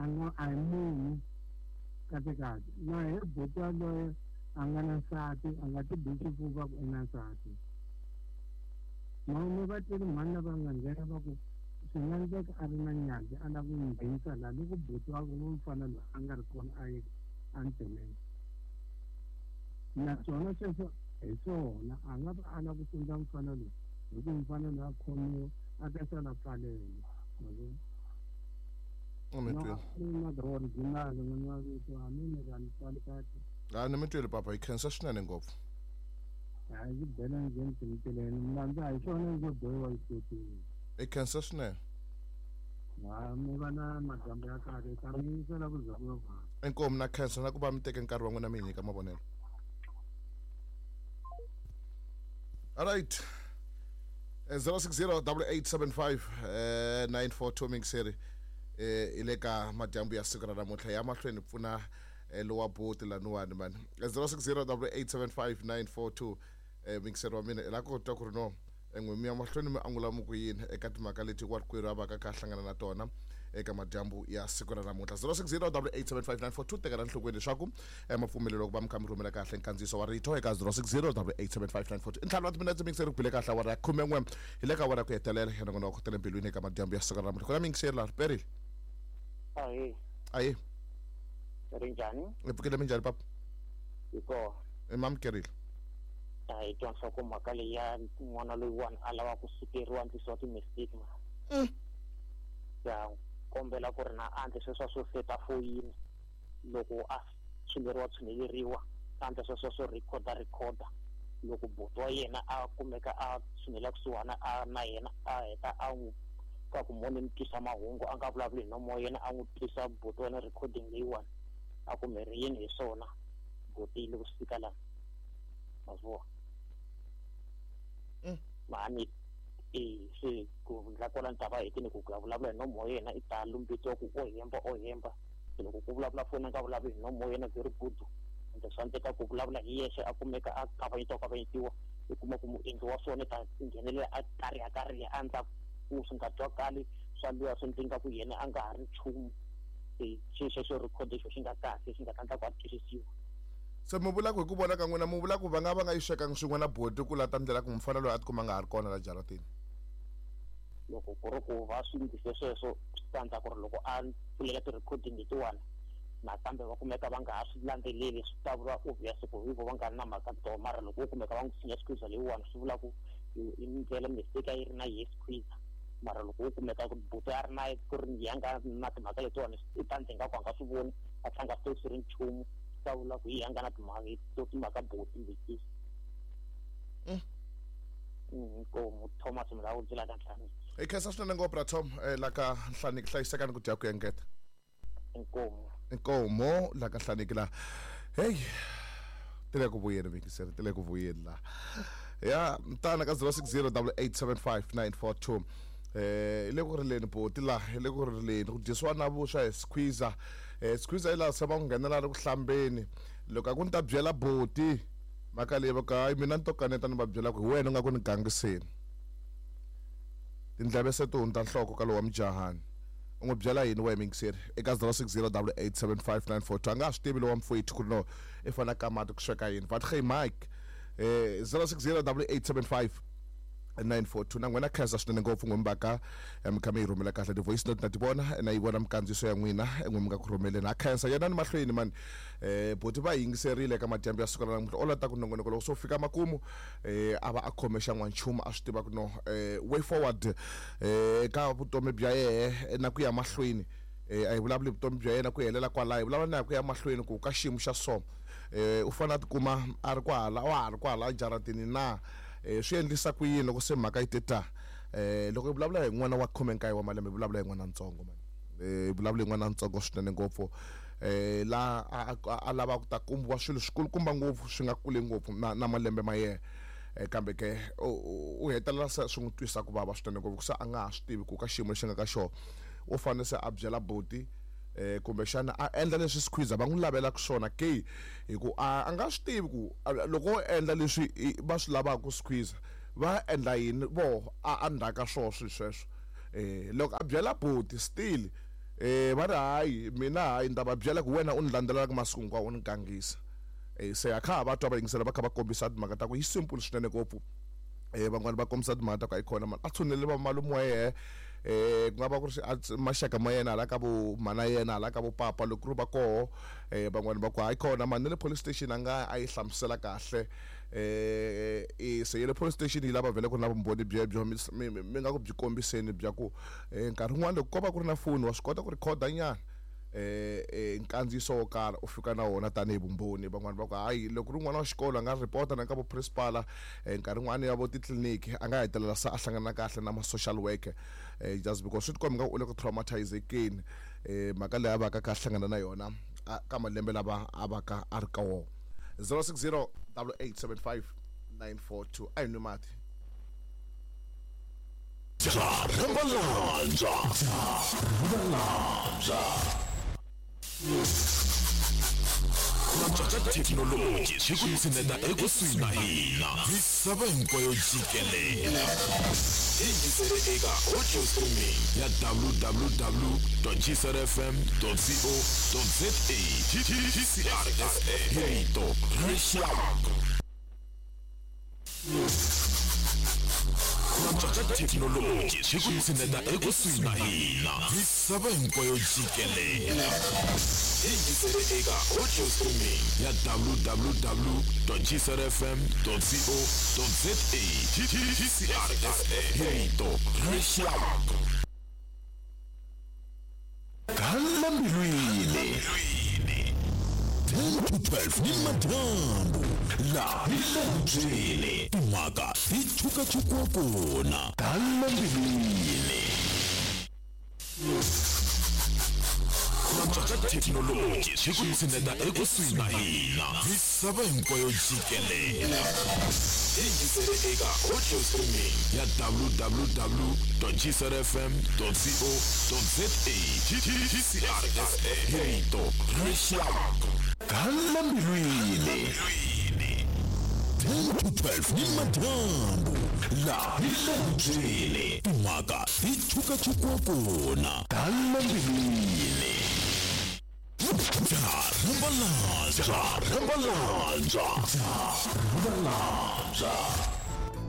A nga a hi munhu kahle kahle na he buti yaloye a nga na nsati a nga ti bi xifuva ku i na nsati. Mhani va twile mhani lava nga nghena va ku swi nga endleka a ri na nyadzi a lava ku n'wi nghenisa laha loko buti wa mfana loyi a nga ri kona a ye entirhweni. Naswona sweswo hi swona a nga va a lava ku sundza mfana loyi hi ku mfana loyi a khomiwa a ta sala pfalela. Ma vona? A ni mi tweli papa hi khensa swinene ngopfu. Hi khensa swinene. Inkomu na khensa na ku va mi teke nkarhi wa n'wina mi hi nyika mavonelo. Alright. 060 8875 942 mingiseri hi le ka madyambu ya siku ra namuntlha ya mahlweni pfuna lowa boti laniwani mani 060 8875 942 mingiseri wa mina hi la ku twa ku ri no n'we mi ya mahlweni mi angula mi ku yini eka timhaka leti warikwerhu a va ka kha hlangana na tona eka madyambu ya siku ra namuntlha 060 8875 tekela nhlokweni leswaku mapfumelelo ku va mi kha mi rhumela kahle nkandziyiso wa rito eka 060 8875 i ntlhanu wa timinetse mingiseri ku bile kahle awara ya khumen'we hi le ka awara ya ku hetelela ya nongonoko wa ku tele mbilwini eka madyambu ya siku ra namuntlha ku na mingiseri laha riperile. Ahee. Ahee. Ri njhani? Hi pfukile minjhani papa? Hi kona. I mamukerile. A hi twa nhlokomhaka leyi ya n'wana loyiwani a lava ku sukeriwa ndlisiwa ti-mistake ma. Ya kombela ku ri na andle sweswa swo seta foyini loko a tshuneriwa tshuneleriwa andla sweswa swo rhikhoda rhikhoda loko buti wa yena a kumeka a tshunela kusuhana a na yena a heta a n'wi ka ku moni mi twisa mahungu a nga vulavuli hi nomo wa yena a n'wi twisa buti wa yena recording leyiwani a ku mi ri yini hi swona buti yi le ku fika lana ma swi vona. Mhani e se ku ndla kwala ni ta va hetini ku ku ya vulavula hi nomo wa yena i ta lumbetiwa ku o hemba o hemba se loko ku vulavula foni a nga vulavuli hi nomo wa yena very good ende swa endleka ku vulavula hi yexe a kumeka a kavanyetiwa kavanyetiwa i kuma ku muendli wa swona i ta nghenelela a kariha kariha a ndla ku swi nga twakali swa luya swi ndlinga ku yena a nga ha ri nchumu se xi xexo record xo xi nga kahle xi nga ta ndla ku a twisisiwa. Se mi vula ku hi ku vona ka n'wina mi vula ku va nga va nga yi swekanga swin'we na boti ku la ta ndlela ku mufana loyi a tikuma a nga ha ri kona la jaratini? Loko ku ri ku va swi ndlise sweswo swi ta ndla ku ri loko a pfulela ti-recording letiwani nakambe va kumeka va nga ha swi landzeleli swi ta vula obvious ku hi vo va nga ri na mhaka to mara loko wo kumeka va n'wi tshinya squeezer leyiwani swi vula ku i ndlela mistake a yi ri na yehe squeezer mara loko wo kumeka ku buti a ri na ku ri ya nga na timhaka letiwani i ta ndle nga ku a nga swi voni a tlhela a nga swi tivi swi ri nchumu swi ta vula ku hi ya nga na timhaka to timhaka buti leti. Inkomu Thomas Mulaudzi la ka Nhlaniki. Hi khensa swinene ngopfu ra Tom la ka Nhlaniki hlayisekani ku dya ku engeta. Inkomu. Inkomu la ka Nhlaniki la. Hey ti le ku vuyeni vingiseri ti le ku vuyeni la. Ya mtana ka 0608875942 eh le ku rileni boti la le ku rileni ku dyisiwa na vuswa hi squeezer eh squeezer yi la se va n'wi nghenela ri ku hlambeni loko a ku ni ta byela boti mhaka leyi va ku hayi mina ni to kaneta ni va byela ku hi wena u nga ku ni gangiseni tindleve se ti hundza nhloko ka lowa mujahani u n'wi byela yini wehe mingiseri eka 0608875942 a nga ha swi tivi lowa mfowethu ku ri no i fanele a ka mati ku sweka yini but hey mike 060875 942 na n'wina khensa swinene ngopfu n'we mi va ka mi kha mi yi rhumela kahle ti-voice note na ti vona na yi vona mikandziyiso ya n'wina n'we mi nga ku rhumeleni ha khensa yanani mahlweni mani buti va yingiserile eka madyambu ya siku ra namuntlha o lata ku nongonoko loko se wu fika makumu a va a khome xa n'wanchumu a swi tiva ku no way forward ka vutomi bya yehe na ku ya mahlweni a hi vulavuli vutomi bya yena ku helela kwalaho hi vulavula na ku ya mahlweni ku ka xiyimo xa so u fanele a tikuma a ri kwahala wa ha ri kwahala ejaratini na swi endlisa ku yini loko se mhaka yi te ta loko hi vulavula hi n'wana wa khumenkaye wa malembe hi vulavula hi n'wana ntsongo mani hi vulavula hi n'wana ntsongo swinene ngopfu la a lava ku ta kumbiwa swilo swikulukumba ngopfu swi nga kule ngopfu na malembe ma yena kambe ke u hetelela se swi n'wi twisa ku vava swinene ngopfu se a nga ha swi tivi ku ka xiyimo lexi nga ka xona u fanele se a byela buti kumbexana a endla leswi squeezer va n'wi lavelaka swona ke hi ku a nga swi tivi ku loko o endla leswi va swi lavaka squeezer va endla yini voho a ndzhaka swona swilo sweswo loko a byela buti still. Va ri hayi mina hayi ni ta va byela ku wena u ni landzelelaka masiku hinkwawo u ni gangisa. Se a kha ha va twa va yingisela va kha va kombisa timhaka ta ku yi simple swinene ngopfu. Van'wani va kombisa timhaka ta ku hayi khona mani a tshunele va malume wa yehe, ku nga va ku ri maxaka ma yena hala ka vo mhana yena hala ka vo papa loko ku ri va koho. Van'wani va ku hayi khona mani na le police station a nga a yi hlamusela kahle. Se ya le police station yi lava vhele ku ri na vumbhoni byebyo mi nga ku byi kombiseni bya ku nkarhi wun'wani loko ko va ku ri na foni wa swi kota ku rhikhoda nyana nkandziyiso wo karhi u fika na wona tanihi vumbhoni. Van'wani va ku hayi loko ri n'wana wa xikolo a nga report na ka vo principal, nkarhi wun'wani ya vo titliliniki a nga hetelela se a hlangana kahle na ma social worker, just because swi tikomba nga u le ku traumatizekeni, mhaka leyi a va ka kha a hlangana na yona ka malembe lava a va ka a ri ka wona. 060 8875 942. A hi nwi mati. Rambalanja. Rambalanja. Thekinoloji swi ku tshineta ekusuhi na hina misava hinkwayo jikelele. Yingisele eka audio streaming ya www.gcrfm.co.za. GCRFM, hi rito ra rixaka. Thekinoloji swi ku tshineta ekusuhi na hina misava hinkwayo jikelele. Yingisele eka audio streaming ya www.gcrfm.co.za. GCRFM, hi rito ra rixaka. Gala mbilwini 10 to 12 ni madyambu la hi le byele timhaka ti chukachukiwa kona. Gala mbilwini. Thekinoloji swi ku tshineta ekusuhi na hina misava hinkwayo jikelele. Yingisele eka audio streaming ya www.gcrfm.co.za. GCRFM, hi rito ra rixaka. Gala mbilwini 10 to 12 ni madyambu la hi le byele timhaka ti chukachukiwa kona. Gala mbilwini. Rambalanja. Rambalanja. Rambalanja.